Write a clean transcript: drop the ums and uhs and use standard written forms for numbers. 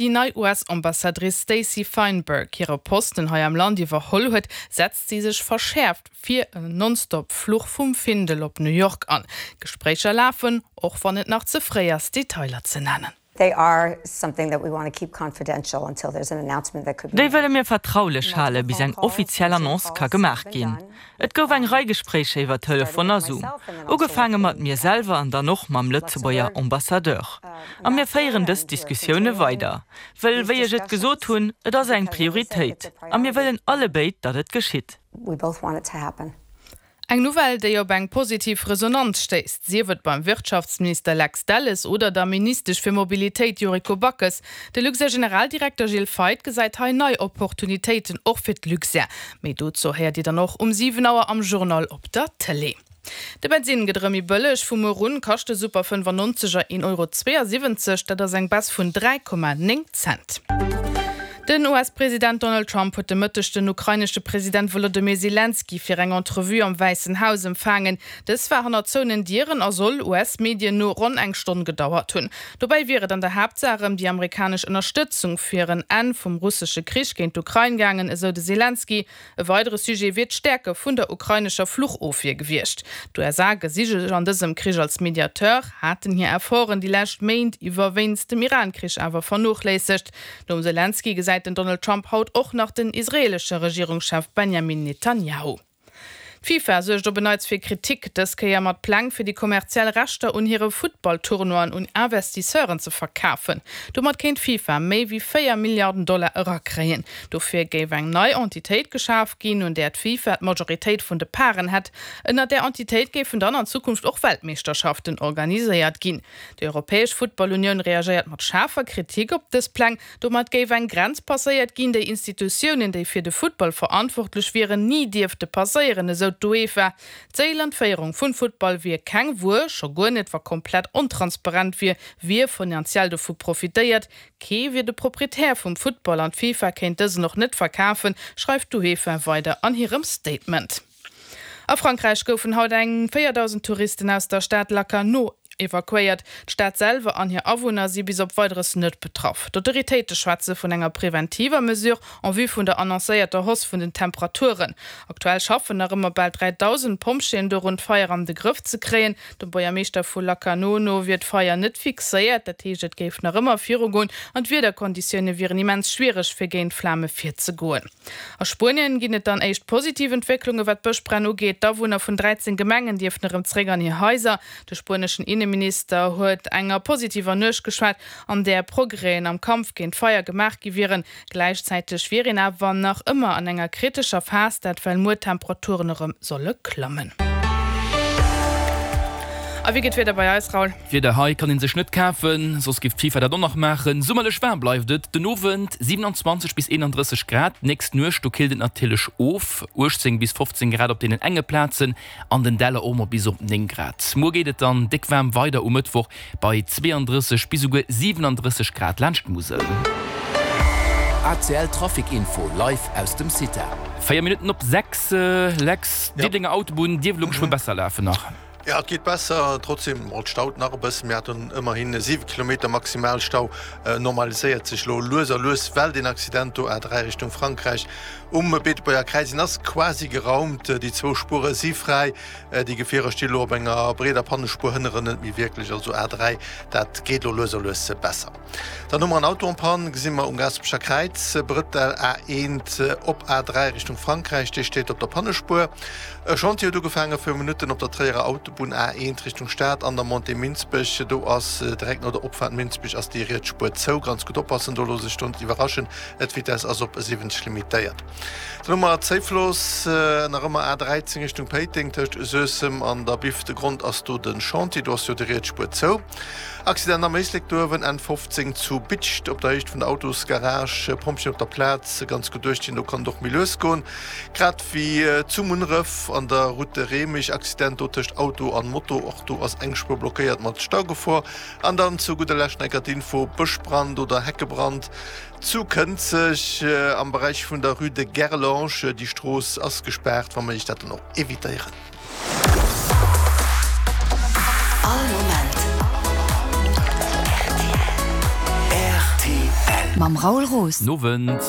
Déi nei US-Ambassadrice Stacey Feinberg hire Posten hei am Land iwwerholl huet, setzt si sech verschäerft fir en Nonstop-Fluch vum Findel op New York an. Gespréicher lafen, och wann et nach ze fréi ass, Detailer ze nennen. They are something that we want to keep confidential until there's an announcement that could be Déi made. wëlle mir vertraulech hale bis eng offiziell Annonce ka gemaach ginn. Et gouf eng Rei Gespréicher iwwer Telefon a Zoom, ugefaange mat mir selwer an dann och mam Lëtzebuerger Ambassadeur. A mir féieren dës Diskussioune weider, wëll, wéi ech et gesot hunn, et ass eng Prioritéit a mir wëllen allebéid, datt et geschitt. Eng Nouvelle, déi op eng positiv Resonanz stéisst, sief et beim Wirtschaftsminister Lex Delles oder der Ministesch fir Mobilitéit Yuriko Backes. De Luxair-Generaldirekter Gilles Feith gesäit hei nei Opportunitéiten och fir d'Luxair. Méi dozou héiert Dir dann och um 7 Auer am Journal op der Tëlee. De Bensinn gëtt erëm méi bëlleg, Vu muer un kascht de Super 95 er 1,72 Euro, dat ass eng Baisse vun 3,9 Cent. Den US-President Donald Trump huet de Mëtteg den ukrainesche President Wolodymyr Selenskyj fir eng Entrevue am Wäissen Haus empfaangen. Dës war hanner zouenen Dieren a soll, US-Medien no, ronn eng Stonn gedauert hunn. Dobäi wier et an der Haaptsaach ëm déi amerikanesch Ënnerstëtzung fir en Enn vum russesche Krich géint d'Ukrain gaangen, esou de Selenskyj. E weidere Sujet wier d'Stäerke vun der ukrainescher Fluchofwier gewiescht. D'USA gesi sech an dësem Krich als Mediateur, haten hir Efforten déi lescht Méint iwwer wéinst dem Iran-Krich awer vernochléissegt. Nom Selenskyj gesäit den Donald Trump haut och nach den israeelesche Regierungschef Benjamin Netanjahu. D'FIFA suergt op en Neits fir Kritik, dës Kéier mat Pläng fir déi kommerziell Rechter un hire Futtball-Tournoien un Investisseuren ze verkafen. Domat kéint d'FIFA méi wéi 4 Milliarden Dollar erakréien. Dofir géif eng nei Entitéit geschaf ginn, un där d'FIFA d'Majoritéit vun de Paren hätt. Ënner där Entitéit géifen dann an Zukunft och Weltmeeschterschaften organiséiert ginn. Déi Europäesch Futtballunioun reagéiert mat schaarfer Kritik op dës Pläng. Domat géif eng Grenz passéiert ginn, déi Institutiounen, déi fir de Futtball verantwortlech wieren, ni dierfte passéieren, esou d'UEFA. D'Séil an d'Féierung vun Futtball wier keng Wuer, scho guer net wa komplett ontransparent wier, wie finanziell dovu profitéiert. Kee wier de Proprietär vum Futtball an d'FIFA kéint dësen och net verkafen, schreift d'UEFA weider an hirem Statement. A Frankräich goufen haut eng 4.000 Touristen aus der Stad Lacanau evakuéiert. D'Stad selwer an hir Awunner si bis op Weideres net betraff. D'Autoritéite schwätze vun enger preventiver Mesure en vue vun der annoncéierter Hausse vun den Temperaturen. Aktuell schaffen nach ëmmer bal 3.000 Pompjeeën dorun, d'Feier an de Grëff ze kréien. Dem Buergermeeschter vu Lacanau no wier d'Feier net fixéiert, dat heescht et géif nach ëmmer virugoen an d'Wiederkonditioune wieren immens schwiereg fir géint d'Flame virzegoen. A Spuenien ginn et dann éischt positiv Entwécklunge wat d'Bëschbränn ugeet. D'Awunner vun 13 Gemengen dierften erëm zeréck an hir Haiser. De spueneschen Inneminister huet enger positiver Nuecht geschwat, an där Progrèsen am Kampf géint d'Feier gemaach gi wieren. Gläichzäiteg wier een awer nach ëmmer an enger kritescher Phas, dat well muer d'Temperaturen erëm solle klammen. A wéi geet d'Wieder bei eis, Raoul? D'Wieder hei kann een sech net kafen, soss giff d'FIFA dat och nach maachen. Summerlech waarm bleift et den Owend, 27 bis 31 Grad. D'nächst Nuecht, do killt et natierlech of, 18 bis 15 Grad op deenen enge Plazen, an den Däller och mol bis op 9 Grad. Muer geet et dann déck waarm weider um Mëttwoch bei 32 bis esouguer 37 Grad laanscht d'Musel. ACL Trafic Info live aus dem CITA. 4 Minutten op 6, Lex, Diddelenger Autobunn dierft elo geschwë besser lafen nach. Jo, et geet besser, trotzdem et staut nach e bëssen. Mir haten ëmmerhin 7 Kilometer Maximalstau. Normaliséiert sech elo lues a lues, well deen Accident do, A3 Richtung Frankräich um Beetebuerger Kräiz, deen ass quasi geraumt. Déi zwou Spuere si fräi. Déi Gefierer sti elo op enger breeder Pannespuer, hënneren net méi wierklech. Also A3, dat geet elo lues a lues besser. Dann hu mer en Auto en panne, gesi mer um Gaasperecher Kräiz, Brëttel A1 op A3 Richtung Frankräich, dee steet op der Pannespuer. E Chantier huet ugefaange viru Minutten op der Tréierer Autobunn A1 Richtung Stad an der Montée Minsbech. Do ass direkt no der Opfaart Minsbech ass déi riets Spuer zou. Ganz gutt oppassen do, looss sech do net iwwerraschen, d'Vitess ass op 70 limitéiert. Dann hu mer Zéiflooss, nach ëmmer A13 Richtung Péiteng tëscht Suessem an der Biff. De Grond ass do de Chantier, do ass jo déi riets Spuer zou. Accident am Éislek Duerwen, N 15 zu Bidscht op der Héicht vun der Autosgarage. Pompjeeën op der Plaz, ganz gutt duerchginn, do kann et och méi lues goen. Grad wéi zu Munneref an der Route de Remich, Accident do tëscht Auto an Moto, och do ass eng Spuer blockéiert mat Staugefor. An dann zu gudder Lescht nach eng Kéier d'Info, Bëschbrand oder Heckebrand zu Kënzeg am Beräich vun der Rue de Gerlange. Déi Strooss ass gespaart, wa méiglech dat dann och evitéieren. All Moment rtl. Mam Raoul Roos. Nowend.